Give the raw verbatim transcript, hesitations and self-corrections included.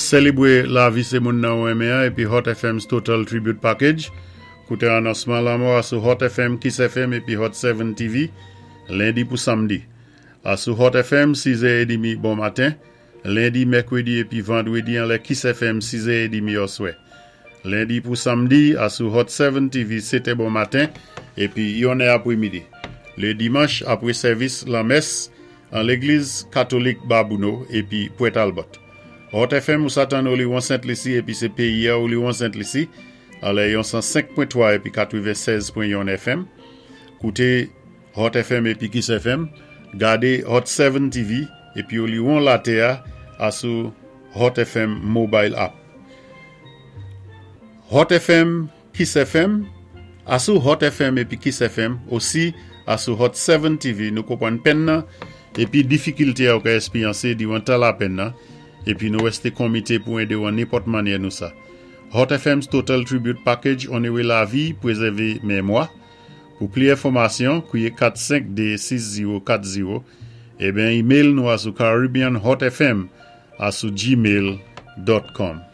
Sélébwé lavi sé moun nan ou enmen épi Hot F M's Total Tribute Package. Kouté anonsman lanmò sou Hot F M, Kiss F M épi Hot sept T V, lendi pou samdi. A sou Hot F M, sis è trant bon maten, lendi, mèkwédi épi vandwédi anlè Kiss F M, sis è trant oswè. Lendi pou samdi, a sou Hot sept T V, sèt è bon maten, épi yon è apwé midi. Lé dimanch, apwé sèvis lanmès, an légliz katolik Babouno, épi Pwent Albert. Hot F M ou sa tann Oliwon Sent Lisi épi sé péyi a Oliwon Sent Lisi, anlè yon san senk pwen twa épi katwennsèz pwen yon F M. Kouté Hot F M épi Kiss F M, gadé Hot sept T V épi Oliwon latè a sou Hot F M Mobile App. Hot F M, Kiss F M, a sou Hot F M épi Kiss F M, osi a sou Hot sept T V, nou konpwann pèn nan, épi difikilté a ou ka èspéryansé diwan tan lapenn nan, épi nou wésté komité pou édé ou an nenpòt mannyè nou sa. Hot F M's Total Tribute Package, onoré lavi, pwézèvé mémwa. Pou pli enfòmasyon, kwiyé kat senk de sis zewo kat zewo, ében email nou a sou caribbeanhotfm a sou gmail dot com.